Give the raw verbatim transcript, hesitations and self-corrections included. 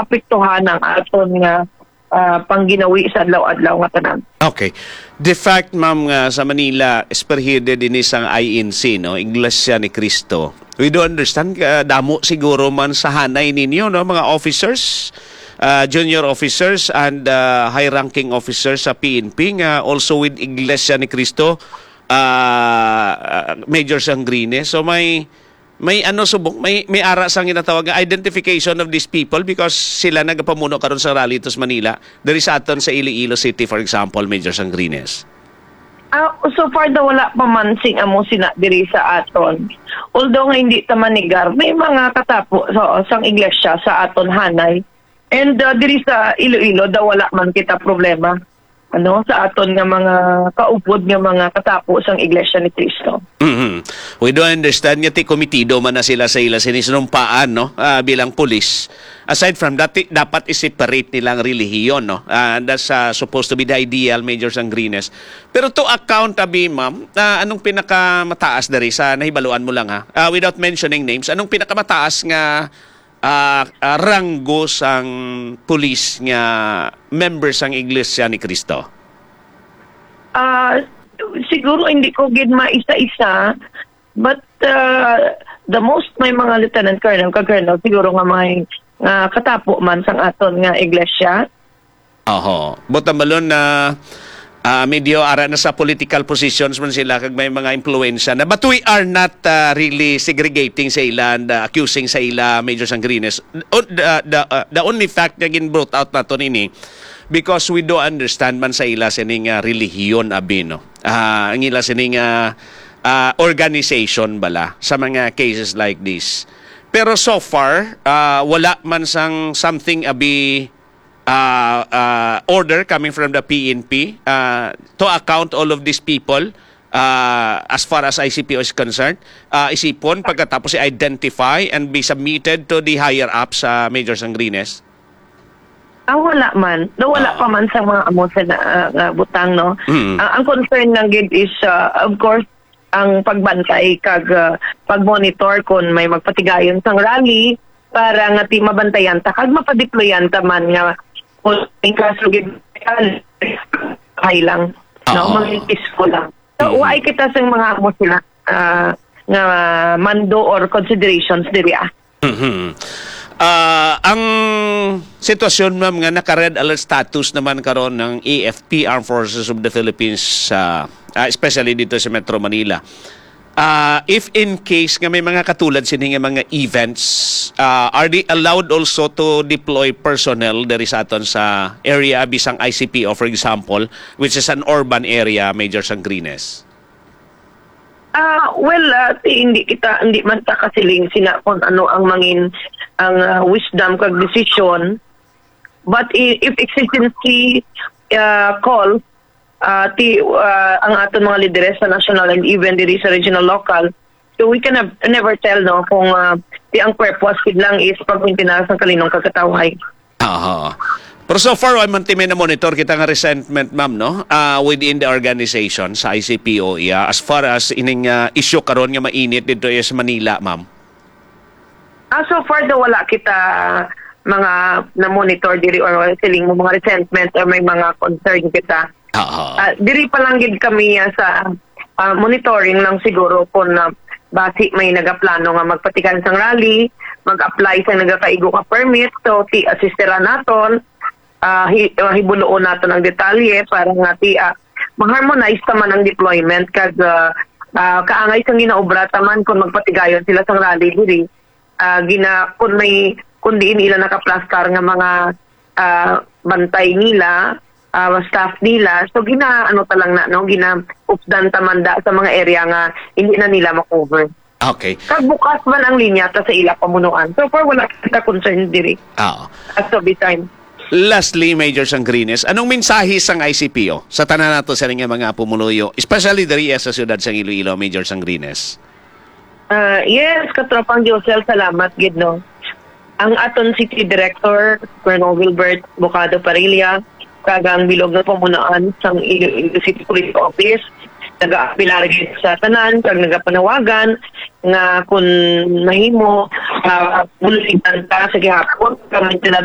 apektuhan ang aton nga, ah, pangginawi sa adlaw-adlaw nga tanan. Okay. The fact, ma'am, nga sa Manila, spearheaded ini sang I N C, no? Iglesia ni Cristo. We do understand, ah, damo siguro man sa hanay ninyo, no? Mga officers, ah, junior officers and, ah, high-ranking officers sa P N P nga also with Iglesia ni Cristo, ah, ah, Major Sangrines. So may, may ano subong, may, may ara sang ginatawag nga identification of these people because sila nagapamuno karon sa rally to sa Manila. Diri sa aton sa Iloilo City, for example, Major Sangrines. Ah, so far daw wala pa man sing amo sina diri sa aton. Although nga hindi ta manigar, may mga katapo sa sang iglesia sa aton hanay. And, ah, diri sa Iloilo daw wala man kita problema, ano, sa aton nga mga kaupod nga mga katapo sang Iglesia ni Cristo. Mhm. We do understand nga ti komitido man na sila sa ila sini sinumpaan, no? Ah, bilang pulis. Aside from that, ti-, dapat i-separate nila ang relihiyon, no? Ah, that's, ah, supposed to be the ideal, Major Sangrines. Pero to account, abi, ma'am, ah, anong pinakamataas diri sa nahibaluan mo lang, ha? Ah, without mentioning names, anong pinakamataas nga, ah, ah, ranggo sang pulis nga member sang Iglesia ni Cristo? Ah, siguro hindi ko gid maisa-isa, but, ah, the most may mga lieutenant colonel, ka-colonel siguro nga may, nga katapo man sang aton nga iglesia. Oho. Buot hambalon na, ah, medyo ara na sa political positions man sila kag may mga impluwensya na. But we are not, ah, really segregating sa ila and, ah, accusing sa ila, Major Sangrines. O, the, the, ah, the only fact nga gin-brought out naton ini because we do understand man sa ila sining, ah, relihiyon, abi, no? Ah, ang ila sining, ah, ah, organization bala sa mga cases like this. Pero so far, ah, wala man sang something, abi, ah, ah, order coming from the P N P, ah, to account all of these people, ah, as far as I C P O is concerned, ah, isipon pagkatapos i-identify and be submitted to the higher ups, ah, Major Sangrines? Ah, wala man. No, wala Ah. pa man sa mga amo sa na, ah, nga butang, no? Mm. Ah, ang concern lang gid is, ah, of course, ang pagbantay kag, ah, pag-monitor kung may magpatigayon sang rally para nga ti mabantayan ta kag mapadeployan ta man nga kung in kaso gid, okay lang, no? Ah. Maging peaceful lang. So, Mm. why kita sang mga amo sila, ah, nga mando or considerations diri, ah? Mhm. Ah, ang sitwasyon, ma'am, nga naka-red alert status naman karon ng A F P, Armed Forces of the Philippines, ah, ah, especially dito sa Metro Manila. Ah, if in case nga may mga katulad sini nga mga events, ah, are they allowed also to deploy personnel diri sa aton sa area, bisang I C P O, for example, which is an urban area, Major Sangrines? Ah, well, ah, ti-, hindi kita, hindi man ta kasiling sina kung ano ang mangin-, ang, ah, wisdom kag desisyon. But i-, if exigency, ah, call, ah, ti-, ah, ang aton mga lideres sa national and even diri sa regional local, so we can nev-, never tell, no, kung, ah, ti ang purpose gid lang is pagmintinar sang kalinong kagkatawhay. Aha. Pero so far, wa man ti may na-monitor kita nga resentment, ma'am, no? Ah, within the organization sa I C P O, iya, as far as ining, ah, issue karon nga mainit dito sa Manila, ma'am. Ah, so far daw wala kita mga na-monitor diri or siling mo mga resentment or may mga concern kita. Aha. Ah, diri pa lang gid kami, ah, sa, ah, monitoring lang siguro kung, ah, basi may nagaplano nga magpatigayon sang rally, mag-apply sa nagakaigo nga permit, so ti-, assisteran naton, ah, hi-, ah, hibuloon naton ang detalye para nga ti-, ah, ma-harmonize ta man ang deployment kag, ah, ah, kaangay sang ginaobra ta man kung magpatigayon sila sang rally diri. Ah, gina-, kung may, kung diin ila nakaplastar nga mga, ah, bantay nila, ah, staff nila, so gina-, ano ta lang na, no, gina-updan ta man da sa mga area nga hindi na nila ma-cover. Okay. Kag bukas man ang linya ta sa ila pamunuan. So far, wala kita concern diri. Oo. As of this time. Lastly, Major Sangrines, anong mensahe sang I C P O sa tanan nato sa nga mga pumuluyo, especially diri sa siyudad sang Iloilo, Major Sangrines? Ah, yes, katropang Josel, salamat gid, no. Ang aton city director, Colonel Wilbert Bocado Parilla, kag ang bilog nga pamunaan sang Iloilo City Police Office, nagaapilar gid sa tanan kag nagapanawagan nga kun mahimo, ah, buligan ta sa gihapon, kag